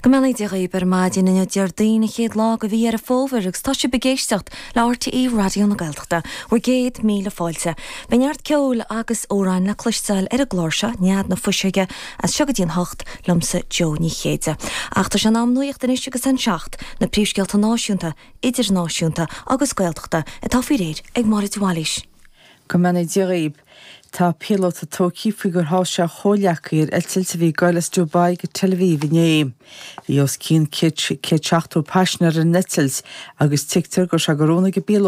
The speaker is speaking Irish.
Go mbeannaí Dia dhaoibh ar maidin inniu Déardaoin an chéad lá de mhí Dheireadh Fómhair agus tá sibh ag éisteacht le RTÉ Raidió na Gaeltachta. Bhur gcéad míle fáilte. Beidh neart ceoil agus amhráin le cloisteáil ar an gclár seo, Nead na Fuiseoige, as seo go dtí an hocht, liomsa Jó Ní Chéide. Ach tá sé in am nuaíocht anois agus an seacht, na príomhscéalta náisiúnta, idirnáisiúnta agus Gaeltachta atá faoi réir ag Máire de Bhailís. Go mbeannaí Dia dhaoib. Tá píolóta tógtha faoi gur sháigh sé a chomhghleacaí ar eitilt a bhí ag goil as Dubai go Tel Aviv inné. Bhí os cionn 170 paisinéir ar an eitilt agus tuigtear go raibh sé go rún ag an bpíolóta.